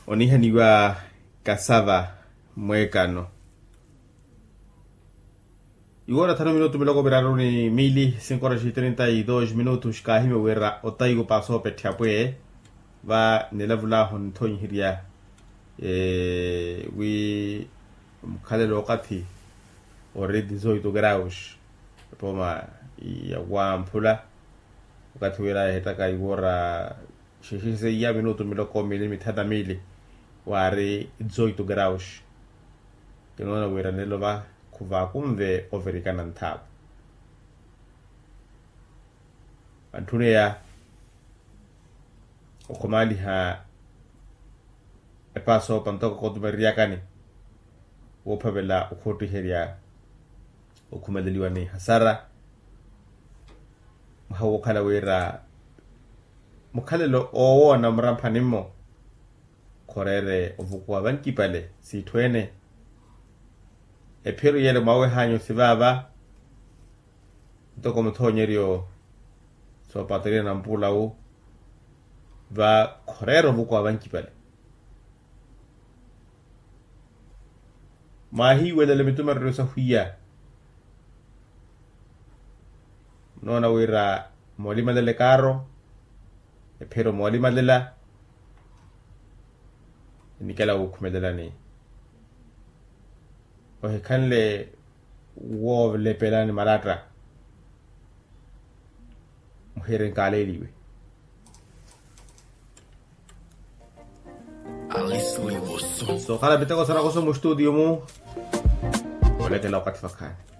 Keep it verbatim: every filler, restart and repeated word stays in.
Onihaniwa kasava mweekano. Iwoora thanu minutu miloko miraru ni miili sinkoraxi trinta y dos minutu xikaahimya wira otaiwo paasoopetthe apwe. Va nilavulahu nithonyiherya wi mukhalelo okathi ori dizoito graus epoma ya wamphula. Okathi wira ehettaka iwoora xixiseiya minutu miloko miili mithanu na miili waari dizoito graus. Kinoona wira nelo va khuvakunve overikana nthaapu. Antthuni eya okhumaaliha epaasoopa ntoko kootumereryakani woophavela okhottiherya okhumeleliwa ni hasara. Mwaha wookhala wira mukhalelo owoona muramphani-mo khoreere ovukuwa vankipale siitthu ene. Ephiro yele mwawehanyu sivaava ntoko muthonyeryo soopateriya na mpuula wu va khoreera ovukuwa vankipale. Mwahiiwelela mitumereryo sahwiya munoona wira moolimalela ekaaro ephiro moolimalela enikela wuukhumelelani ohikhanle woolepelani malatta. Muhiri nkaaleeliwe sookhala miteko sarakoso mustutiyo mu olekela okathi vakhaani.